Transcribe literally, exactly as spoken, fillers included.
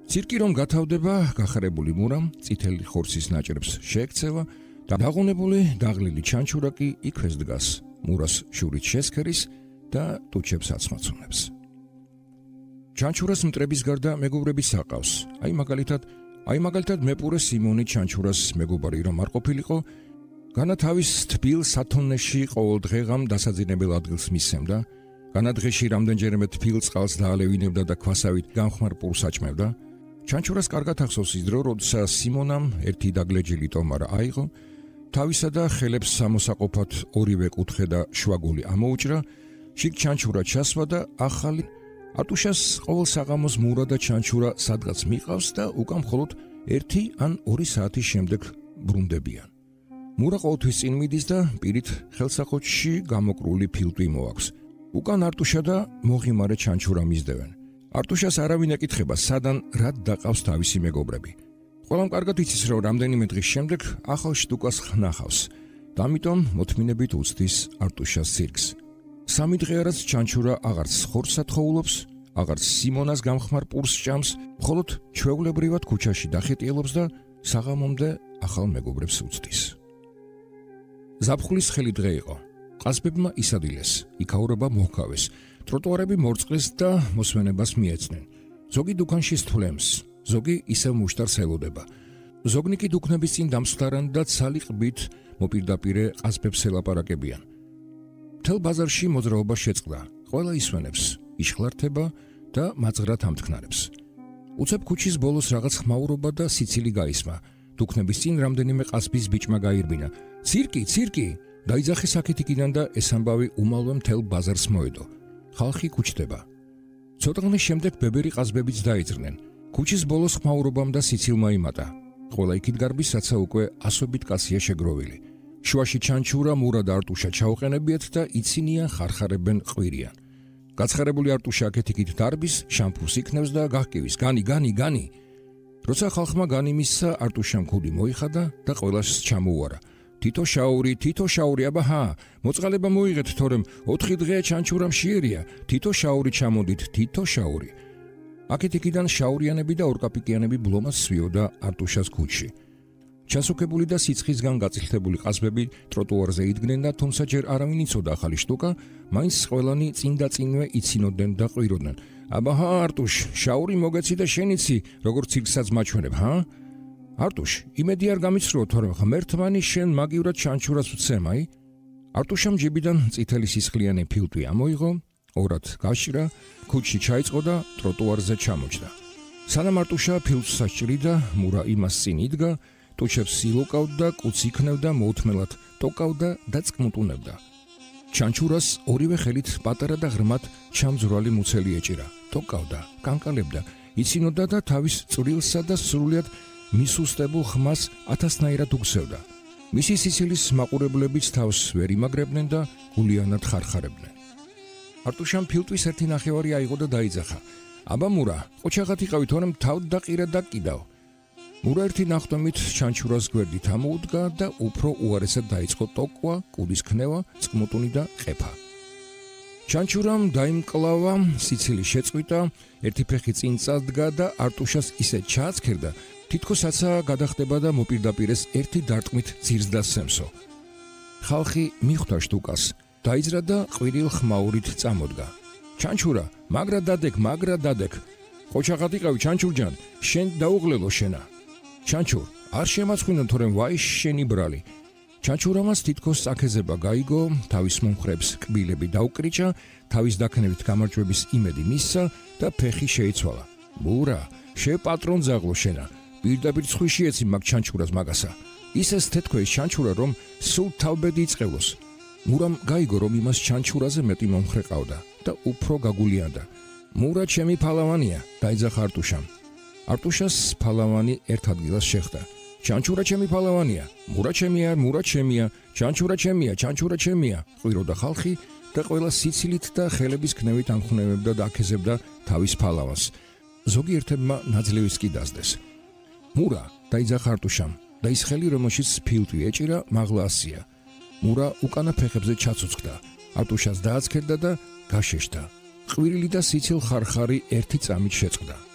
ცირკი რომ გათავდება, გახარებული მურამ წითელი ხორცის ნაჭრებს შეექცევა და დაღონებული დაღლილი ჩანჩურა კი იქვე დგას, მურას შურით შესქერის და ტუჩებს აცმაცუნებს. ჩანჩურას მტრების გარდა მეგობრებიც აყავს. აი მაგალითად, აი მაგალითად მეპურე სიმონი ჩანჩურას მეგობარი რომ არ ყოფილიყო, განა თავის თბილ სათონეში ყოველ დღეღამ დასაძინებელ ადგილს მისცემდა, განა დღეში რამდენჯერმე თბილ წყალს დაალევინებდა და ქვასავით გამხმარ პურს აჭმევდა. ჩანჩურას კარგად ახსოვს ის დრო, როდესაც სიმონამ ერთი დაგლეჯილი ტომარა აიღო, თავისა და ხელებს სამოსაყოფად ორივე კუთხე და შვაგული ამოუჭრა, შიგ ჩანჩურა ჩასვა და ახალი არტუშას ყოველ საღამოს მურა და ჩანჩურა სადღაც მიყავს და უკან მხოლოდ ერთი ან ორი საათის შემდეგ ბრუნდებიან. მურა ყოველთვის წინ მიდის და პირით ხელსაყოჩში გამოკრული ფილტვი მოაქვს. უკან არტუშა და მოღიმარე ჩანჩურა მისდევენ. არტუშას არავინ ეკითხება, სადან რად დაყავს თავისი მეგობრები. ყველამ კარგად იცის, რომ რამდენიმე დღის შემდეგ ახალ შტუკას ხნახავს და ამიტომ მოთმინებით უცდის არტუშას ცირკს. სამი დღე არაც ჩანჩურა აღარც ხორცს ათხოვულობს, აღარც სიმონას გამხმარ პურს ჭამს, მხოლოდ ჩვეულებრივად ქუჩაში დახეტიელობს და საღამომდე ახალ მეგობრებს უცდის. ზაფხულის ხელი დღე იყო. ყაზბებმა ისადილეს, იქაურობა მოჰქავეს, ტროტუარები მორწყლეს და მოსვენებას მიეცნენ. ზოგი დუქანში სთვლემს, ზოგი ისევ მუშტარს ელოდება. ზოგნიკი დუქნების წინ დამსხდარან და ცალი ყბით მოპირდაპირე ყაზბებს ელაპარაკებიან. მთელ ბაზარში მოძრაობა შეწყდა, ყველა ისვენებს, იშხლართება და მაძღრად ამთქნარებს. უცებ ქუჩის ბოლოს რაღაც ხმაურობა და სიცილი გაისმა. დუქნების წინ რამდენიმე ყაზბის ბიჭმა გაირბინა. ცირკი, ცირკი! დაიძახეს აქეთ-იქიდან და ეს ამბავი უმალვე მთელ ბაზარს მოედო. ხალხი ქუჩდება. ცოტა ხნის შემდეგ ბებერი ყაზბებიც დაიძრნენ. ქუჩის ბოლოს ხმაურობამ და სიცილმა იმატა. ყველა იქით გარბის, რაცა უკვე ასობით კაცია შეგროვილი. შუაში ჩანჩურა, მურა და არტუშა ჩაუყენებიათ და იცინიან, ხარხარებენ, ყვირიან. გაცხარებული არტუშა აქეთ-იქით დარბის, შამფურს იქნევს და გაჰკივის: "განი, განი, განი!" როცა ხალხმა განი მისცა, არტუშამ ქუდი მოიხადა და ყველას ჩამოუარა: "თითო შაური, თითო შაური, აბა ჰა, მოწყალება მოიღეთ, თორემ ოთხი დღეა ჩანჩურა მშიერია, თითო შაური ჩამოდით, თითო შაური." აქეთ-იქიდან შაურიანები და ორკაპიკიანები ბლომას სვიოდა არტუშას ქუჩში. ჩასუქებული და სიცხისგან გაწილთებული ყაზბები ტროტუარზე იდგნენ და თუმცა ჯერ არავინ იცოდა ახალი შტუკა, მაინც ყველანი წინ და წინვე იცინოდნენ და ყვიროდნენ: "აბა ჰა, არტუშ, შაური მოგეცი და შენიცი, როგორც ცირკსაც მაჩვენებ, ჰა? არტუშ, იმედი არ გამიცრუო, თორემ ღმერთმანი შენ მაგივრად ჩანჩურას ვცემ, აი?" არტუშამ ჯიბიდან წითელი სისხლიანი ფილტვი ამოიღო, ორად გაშრა, ქუჩში ჩაიწყო და ტროტუარზე ჩამოჯდა. სანამ არტუშა ფილტვს საჭრიდა, მურა იმას წინ იდგა, ტუჩებს ილოკავდა, კუც იქნევდა, მოუთმელად ტოკავდა და წკმუტუნებდა. ჩანჩურას ორივე ხელით პატარა და ღრმად ჩამძვრალი მუცელი ეჭირა, ტოკავდა, კანკალებდა, იცინოდა და თავის წვრილსა და სრულიად მისუსტებულ ხმას ათასნაირად უგზევდა. მისი სიცილის მაყურებლებიც თავს ვერ იმაგრებდნენ და გულიანად ხარხარებდნენ. არტუშამ ფილტვის ერთი ნახევარი აიღო და დაიძახა: "აბა მურა, ყოჩაღად იყავი, თორემ თავ დაყირა და კიდავ." მურა ერთი ნახტომით ჩანჩურას გვერდით ამოუდგა და უფრო უარესად დაიწყო ტოკვა, კუდის ქნევა, წკმუტუნი და ყეფა. ჩანჩურამ დაიმკლავა, სიცილი შეწყვიტა, ერთი ფეხი წინ წადგა და არტუშას ისე ჩააცქერდა, თითქოსაცა გადახტება და მოპირდაპირეს ერთი დარტყმით ძირს დასცემსო. ხალხი მიხვდა შტუკას, დაიძრა და ყვირილ ხმაურით წამოდგა. "ჩანჩურა, მაგრა დადეკ, მაგრა დადეკ. ყოჩაღად იყავი, ჩანჩურჯან, შენ დაუღლელო შენა. ჩანჩურ, არ შემაცხვინო, თორემ ვაი შენი ბრალი." ჩანჩურამას თითქოს წაქეზება გაიგო, თავის მომხრებს კბილები დაუკრიჭა, თავის დაქნევით გამარჯვების იმედი მისცა და ფეხი შეიცვალა. "მურა, შე პატრონ ზაღლო შენა. პირდაპირ ცხვიში ეცი მაგ ჩანჩურას მაგასა. ისე თეთქვეის ჩანჩურა, რომ სულ თავბედი იწყევლოს." მურამ გაიგო, რომ იმას ჩანჩურაზე მეტი მომხრე ყავდა და უფრო გაგულიანდა. "მურა ჩემი ფალავანია", დაიძახა არტუშამ. არტუშას ფალავანი ერთ ადგილას შეხვდა. "ჩანჩურა ჩემი ფალავანია, მურა ჩემია, მურა ჩემია, ჩანჩურა ჩემია, ჩანჩურა ჩემია", ყვიროდა ხალხი და ყველა სიცილით და ხელების ქნევით ამხნევებდა და აკეზებდა თავის ფალავანს. ზოგი ერთებმა ნაძლევის კი დასდეს. "მურა", დაიძახა არტუშამ და ის ხელი, რომელშიც ფილტვი ეჭირა, მაღლა ასია. მურა უკანა ფეხებზე ჩაცოცხლდა, არტუშას დააცქერდა და გაშეშდა. ყვირილი და სიცილ ხარხარი ერთი წამით შეწყდა.